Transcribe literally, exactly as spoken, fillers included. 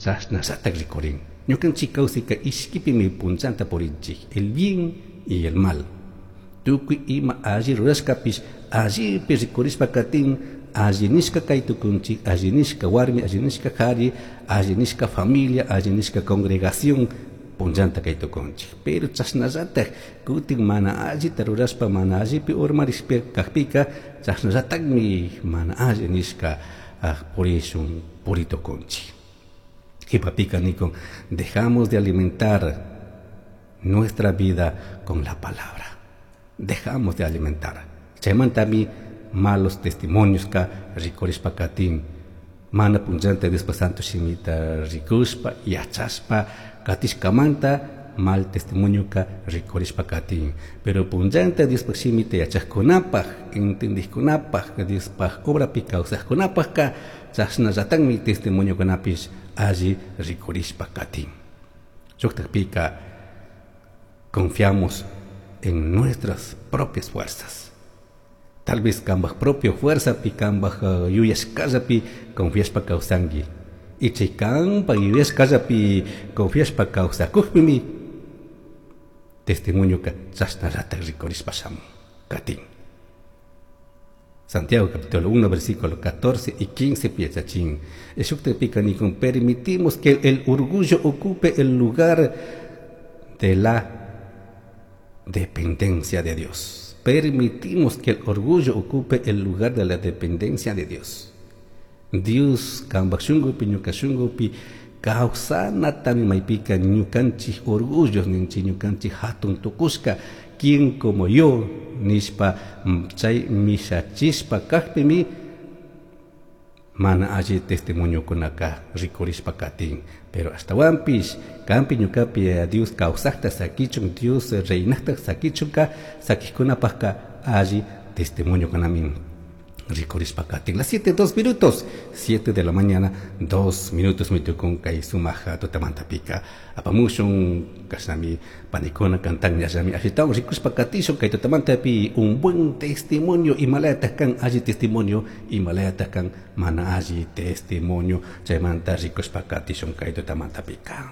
Chashnallatak rikurin. Ñukanchik kawsayka ishkipimi punchanta purinchik, el bien y el mal. Tukuy ima alli rurashkapish allipi rikurishpa katin, alli nishka kay tukunchik, alli nishka warmi, alli nishka kari, alli nishka familia, alli nishka congregación punchanta kay tukunchik. Pero chashnallatak kutin mana allita rurashpa mana allipi urmarishpa kakpika chashnallatakmi mana alli nishka purishun puritukunchik. Qhipapika nikun, dejamos de alimentar nuestra vida con la palabra. Dejamos de alimentar. Chaymantami malos testimonios ka rikurishpa katin. Mana punchanta Diospa santo shimita rikushpa yachashpa katishkamanta mal testimonio ka rikurishpa katin. Pero punchanta Diospa shimita yachajkunapaj, entendijkunapaj, Diospaj obrapi kawsajkunapajka chashnallatakmi testimoniokunapish alli rikurishpa katin. Shuktakpika confiamos en nuestras propias fuerzas. Tal vez kambaj propio fuerza pi kambaj uh, yuyashkallapi confiashpa kawsanki. Y chay kampa yuyashkallapi confiashpa kawsakukpimi testimonioka chashnallatak rikurishpa shamun katin. Santiago capítulo uno versículo catorce y quince piachachin. Shuktapika nikun, permitimos que el orgullo ocupe el lugar de la dependencia de Dios. Permitimos que el orgullo ocupe el lugar de la dependencia de Dios. Dios kambaj shunkupi ñuka shunkupi kawsanatami maypika ñukanchik orgullos ninchik ñukanchik hatun tukushka, quien como yo nishpa chay mishachishpa kakpimi mana alli testimoniokunaka rikurishpa katin. Pero ashtawanpish kampi ñukapi Dios kawsakta sakichun, Dios reinakta sakichunka sakijkunapajka alli testimoniokunami rikurishpa katin. Las siete dos minutos, siete de la mañana, dos minutos mitukun kay sumaja tutamantapika apamushun kashnami panikuna cantan yallami ashitawan rikushpa katishun kay tutamantapi un buen testimonio imalayataj kan alli testimonio, imalayataj kan mana alli testimonio, chaymanta rikushpa katishun kay tutamantapika.